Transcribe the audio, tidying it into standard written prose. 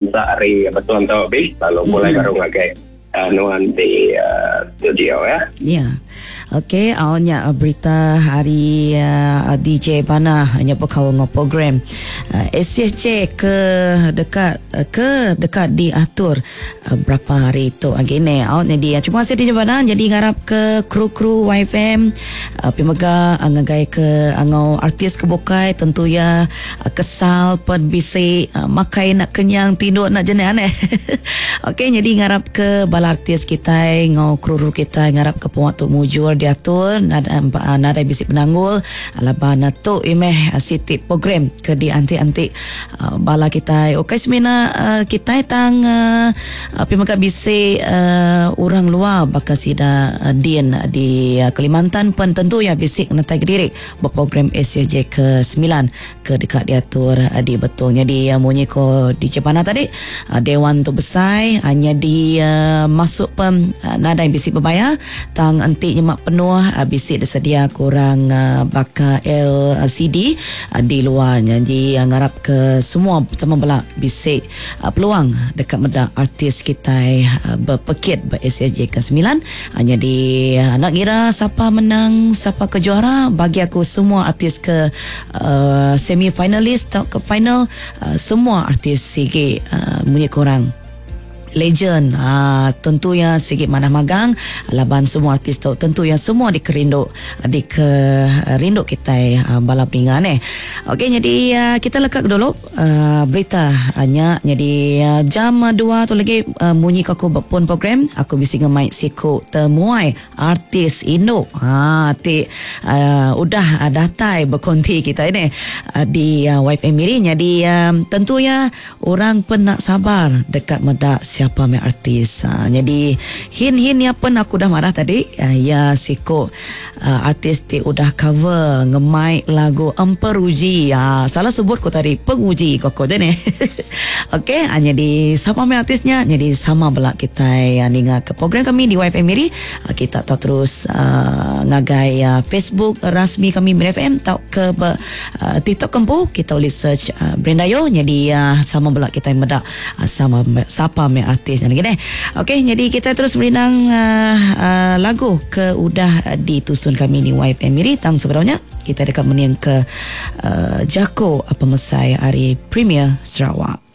Enda ari betul tu bi lalu pulai baru ngagai nuan di studio ya. Ya. Okey, au nya berita hari DJ Bana nya bekaul enggau program SCJ ke deka ke deka diatur berapa hari tu agi ne. Au nyadi terima kasih DJ Bana jadi ngarap ke kru-kru YFM pi mega ngagai ke enggau artis ke bukai tentu iya Kesal pen bisi makai enda kenyang tinduk enda jenih aneh. Okey nyadi ngarap ke bala artis kitai enggau kru-kru kitai ngarap ke pengawa tu mujur diatur nadai nadai bisi penanggul laban tu meh siti program ke dianti-anti bala kitai ukai semina kitai tang pi mega bisi orang luar baka sida din di Kalimantan pen tentu iya bisi ngenetai kediri. Ba program ACJ ke semilan ke deka diatur di Betong. Nyadi munyi ko DJ Pana tadi, dewan tu besai nyadi masuk pen nadai bisi bebayar tang enti nyema penuh bisi disedia kurang baka LCD di luar nya. Ji ngarap ke semua sama bela bisi peluang deka meda artis kitai bepekit ba ACJ ke semilan. Nyadi enda ngira sapa menang sapa ke juara bagi aku semua artis ke semi finalis tauka final semua artis sigi munyi ke orang legend aaa tentu iya sigi manah magang laban semua artis tu tentu iya semua dikerindu dike rindu kitai bala peninga neh. Okey nyadi kita leka ke dulu. Berita nya nyadi jam dua tu lagi munyi ko aku ba pun program aku bisi ngemai siku temuai artis indu haa ti udah datai bekonti kitai neh di YFM Miri nyadi tentu iya orang pen enda sabar deka meda siapa meh artis nyadi hin hin iya pen aku udah madah tadi iya siku Artis ti udah cover ngemai lagu Emperuji. Ha, salah sebut ku tadi penguji ko aku neh. Okey, ha, nyadi sama meh artis nya, nyadi sama bela kitai ninga ke program kami di YFM Miri. Kita tau terus uh, ngagai uh, Facebook rasmi kami Miri FM tau ke be, uh, TikTok kempu kita boleh search uh, Brenda Yo nyadi uh, sama bela kitai meda Sama sapa meh artis nya lagi deh. Okey, jadi kita terus merindang uh, uh, lagu ke udah ditusun kami ni YFM Miri tang sebenarnya kita deka mening ke uh, jako pemesai hari Premier Sarawak.